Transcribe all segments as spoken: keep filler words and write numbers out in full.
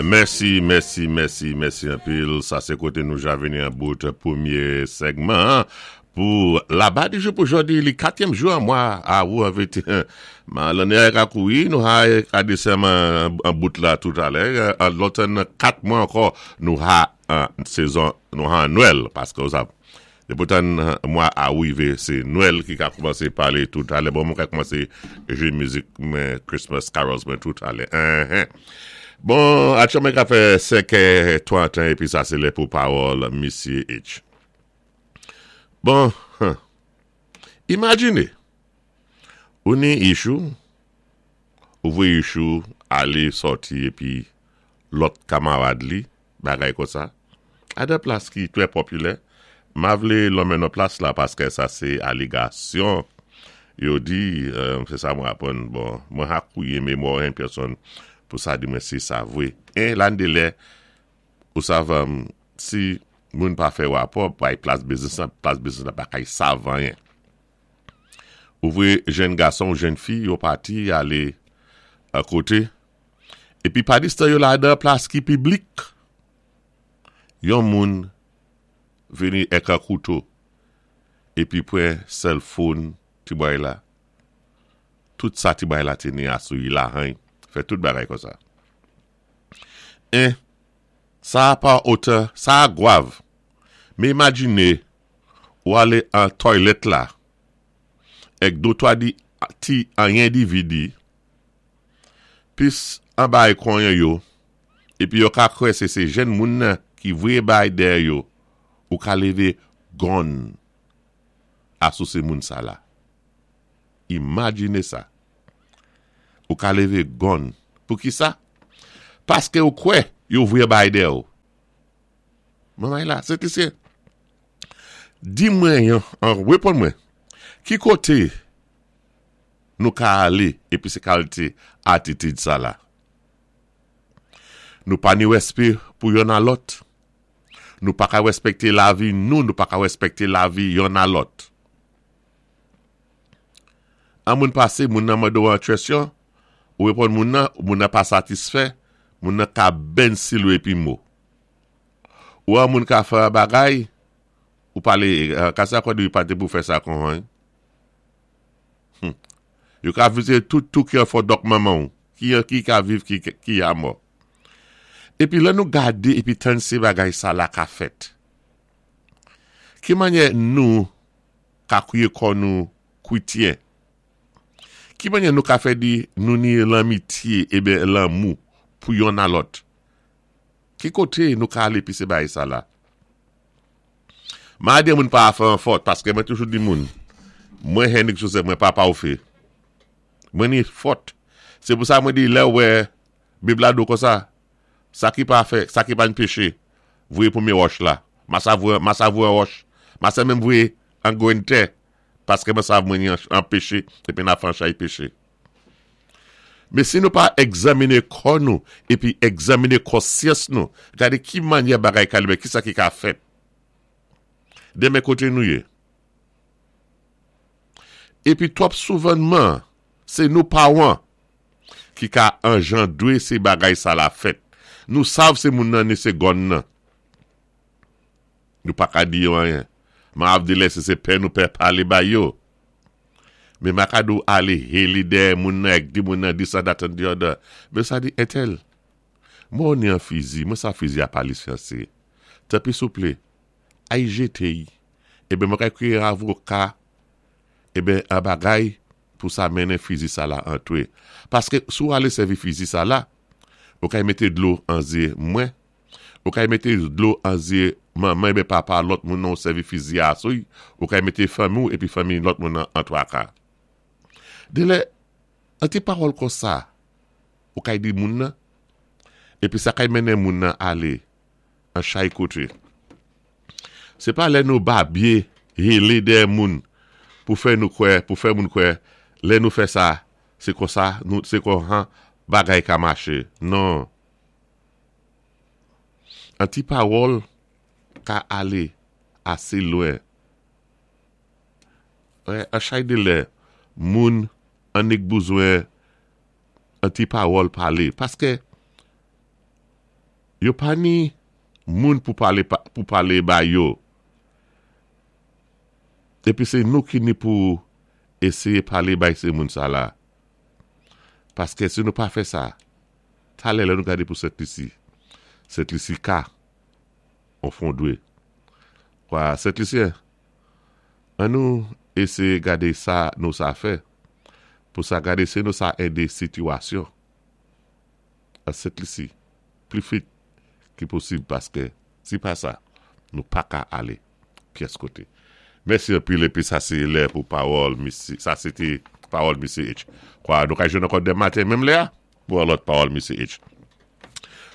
Mèsi, mèsi, mèsi, mèsi anpil. Sa sé koté nou ja vini an bout pwémyé segman pou Laba Dijou pou jòdi, li katyèm jou an mwa awou an vwéti. Lanné a ka kouwi, nou ha ka disyèm an bout la toutalè. An lòt kat mwa ankò, nou ha an sezon, nou ha Nwèl, paské ou sav. Dépoutan mwa awou yivé, sé Nwèl ki ka koumansé palé toutalè. Bon, mwen ka koumansé jwé mizik mwen Christmas carols mwen toutalè. Bon, atchouman ka fè senkè twanten épi sa sé lè pou pawòl Misyé H. Bon, imajiné, ou ni issue, ou voyé issue alé sòti épi lòt kamarad li, bagay konsa, a dé plas ki twè popilè, ma vlé lonmen non plas la paské sa sé aligasyon. Yo di, sé sa mwen apwann, bon, mwen ha kouyé mémwa yon pèsonn pou sa di mwen si sa vwé. É lan dé lè, ou sav, si moun pa fè wapò, bay plas biznis la, plas biznis la pa kay sav anyen. Ou vwé jenn gason ou jenn fi, yo pati alé a koté, épi padistan yo ladan plas ki piblik, yon moun vini èk an kouto, épi pwan cell phone ti boy la, tout sa ti boy la té ni asou yi la han, fè tout bagay konsa. En, sa pa otè, sa a gwav. Mé imajiné, ou alé an toilet la, èk dé twa di ti anyen dividi, pis an bay konyen yo, épi yo ka kwè sé sé jenn moun nan ki vwé bay dèyè yo, ou ka lévé gun asou sé moun sa la. Imajiné sa. Ou ka lévé gun. Pou ki sa? Paské ou kwè yo vwé bay dèyè ou. Maman la, sé ti sé. Di mwen yon, an wéponn mwen, ki koté nou ka alé épi sé kalité atitid sa la? Nou pa ni wéspé pou yonn a lòt. Nou pa ka wéspékté lavi nou, nou pa ka wéspékté lavi yonn a lòt. An moun pasé, moun nan mande ou an kwèsyon, ou wéponn moun nan, moun nan pa satisfè, moun nan ka ben silou épi mou. Ou an moun ka fè an bagay, ou palé, ka sa kwa di ou pati pou fè sa kon han. Hmm. Yo ka vizé tout tout ki an fò dòk manman ou, ki, ki ka viv, ki, ki a mò. Épi lè nou gadé, épi tann sé bagay sa la ka fèt. Ki mannyè nou ka kwiyé kò nou kwityen? Ki mannyè nou ka fè di nou ni lanmityé eben lanmou pou yonn a lòt? Ki koté nou ka alé pi sé bagay sa la? Ma di moun pa fè an fòt, paské mwen toujou di moun, mwen Henrik Joseph, mwen pa pa ou fè. Mwen ni fòt. Sé pou sa mwen di lè wè Bib la di konsa, sa ki pa fè, sa ki pa péché, vwéyé pwémyé wòch la. Ma sa vwé, ma sa vwé an wòch. Ma sa menm vwéyé an gwenn tè, paské mwen sav mwen ni an péché, épi nan fè an chay péché. Mé si nou pa egzaminé kò nou, épi egzaminé konsyans nou, gadé ki mannyè bagay ka ki sa ki ka fèt. Démen koté nou yé. Épi twòp souvanman, sé nou pawan ki ka anjandwé sé bagay sa la fèt. Nou sav sé moun nan ni sé gun nan. Nou pa ka di yo anyen. Ma ap di lè sé sé pè nou pè palé bay yo. Mé ma ka dou alé héli dèyè moun nan èk di moun nan this and that and the other. Mé sa di entèl. Mwen ni an fizi, mwen sa fizi a pa lisansé. Tanpwi souplé, ay jété yi. Eben mwen ka kwiyé avoka, eben an bagay pou sa mennen fizi sa la antwé. Paské sou alé sèvi fizi sa la, ou kay mété dlo an zyé mwen, ou kay mété dlo an zyé manman eben papa lòt moun nan sèvi fizi a sou, ou kay mété fanmi ou épi fanmi lòt moun nan an twaka. Dé lè, an ti pawòl konsa, ou kay di moun nan, épi sa kay mennen moun nan alé, an chay koté. Sé pa lè nou babyé, hélé dèyè moun, pou fè nou kwè, pou fè moun kwè, lè nou fè sa, sé konsa, nou, sé kon han, bagay ka maché. Non. An ti pawòl ka alé asé lwen. Wè, an chay dé lè, moun annik bezwen an ti pawòl palé. Paské Yo pa ni moun pou palé pou palé ba yo. Épi sé nou ki ni pou éséyé palé bay sé moun sa la. Paské si nou pa fè sa, talè lè nou gadé pou Sent Lisi. Sent Lisi ka an fondwé. Kwa Sent Lisyen, an nou éséyé gadé sa nou sa fè pou sa gadé si nou sa édé sitiyasyon a Sent Lisi pli vit ki posib paské si pa sa, nou pa ka alé pyès koté. Mèsi anpil épi sa sé lè pou pawòl misé, sa sé té pawòl Misye H. Kwa nou ka jwenn ankò denmen maten menm lè a pou lòt pawòl Misye H.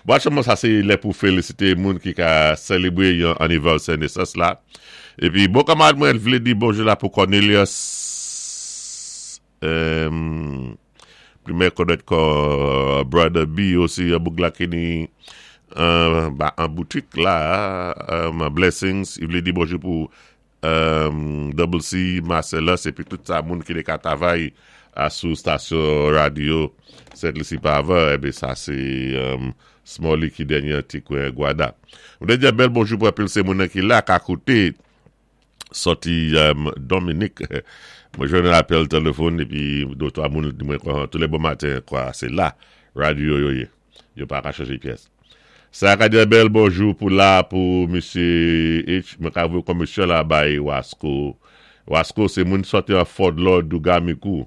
Bon, aktyèlman sa sé lè pou félisité moun ki ka sélébwé yon anivèsè nesans la. Épi bon kanmarad mwen vlé di bonjou la pou Cornelius euh, plimè konnèt kon Brother B osi yon boug la ki ni euh, ba, an boutik la euh, Blessings, i vlé di bonjou pou euh, Double C, Marcellus épi tout sa moun ki té ka travay a sou stasyon radyo Sent Lisi pa avan, ébé sa sé um, Smalley ki dènyé ti kwen Gwada. Mwen di bèl bonjou pou anpil sé moun ki la ka kouté sòti um, Dominique. Mwen jwenn yon apèl téléfòn épi dé twa moun di mwen kwa, tou lé bon maten kwa sé la radyo yo yé. Yo pa ka chanjé pyès. Sa ka di bèl bonjou pou la pou Misye H. Mwen ka voyé komisyon la bay Wasco. Wasco sé moun sòti an Fort Lord Douga Mikou.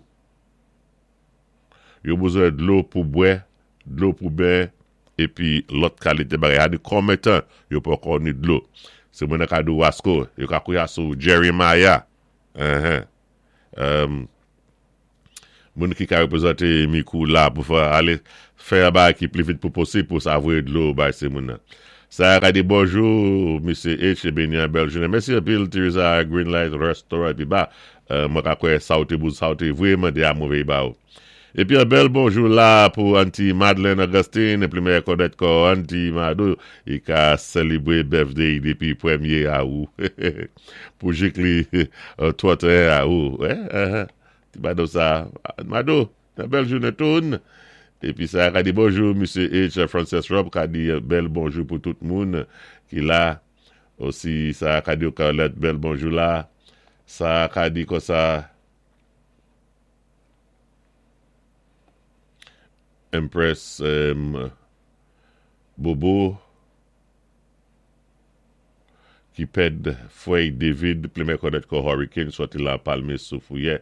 Yo bezwen dlo pou bwè, dlo pou ben, épi lòt kalité bagay. A di konbyen tan yo poko ni dlo. Sé moun ka di Wasco, yo ka kouya sou Jeremiah. Uh-huh. Um, moun ki ka wépwézanté Mikou la pou fè alé fè yon bagay ki pli vit pou posib pou sa voyé dlo bay sé moun nan. Sa ka di bonjou, Misye H, béni yon bèl jounen. Mèsi anpil Teresa Greenlight Restaurant épi ba, euh, mwen ka kwè sa ou té bouz, sa ou té vwé mandé a mwen ba ou. Épi yon bèl bonjou la pou Auntie Madeleine Augustine, plimè konnèt kon Auntie Madou, i ka sélébwé birthday dépi pwémyé awou. Pou jik li twantéen awou. Eh, uh, ti Madou sa, Madou, yon bèl jounen toun. Épi sa ka di bonjou, Misye H. Frances Rob, ka di bèl bonjou pou tout moun ki la. Osi sa ka di Carlette bèl bonjou la. Sa ka di kon sa Empress um, Bobo ki pèd frè David plimè konnèt kon Hurricane sòti la Palme sou Fouyè.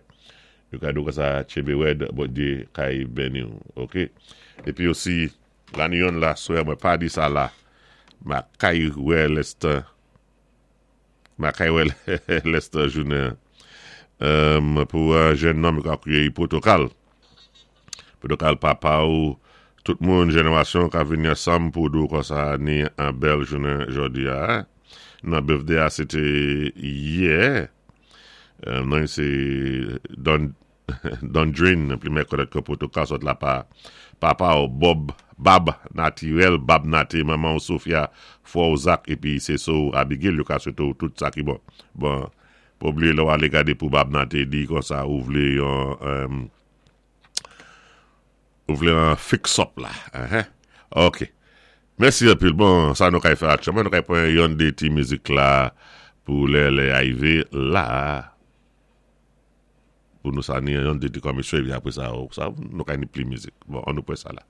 Yo ka di kon sa Chebe Wed, Bondyé kay béni ou, ok? Épi osi, la ni yon la swè, mwen pa di sa la, ma kay wè lèstan, ma kay wè lèstan jounen, um, pou un jèn nonm ka kwiyé protokal. Protokal papa ou, tout moun jénéwasyon ka vini ansanm pou di kon sa ni an bèl jounen jòdi a. Hein? Nan birthday a, sé té yè. Euh, non, sé Don Don Drain, plimè konnèt kon protokal sòt la pa papa ou Bob, Bab Naturel, Bab Naté, maman ou Sofia, frè ou Zach, épi sé sò Abigail, yo ka swété ou tout sa ki bon. Bon, pa oubliyé lè ou alé gadé pou Bab Naté, di kon sa ou vlé yon, um, ou vlé an fix up la. Uh-huh. Ok. Mèsi anpil. Bon, sa nou kay fè aktyèlman, nou kay pran yon dé ti mizik la pou lè lè arivé la. Pou nou sa ni yon dé ti komisyon, épi apwé sa, sa nou kay ni pli mizik. Bon, an nou pran sa la.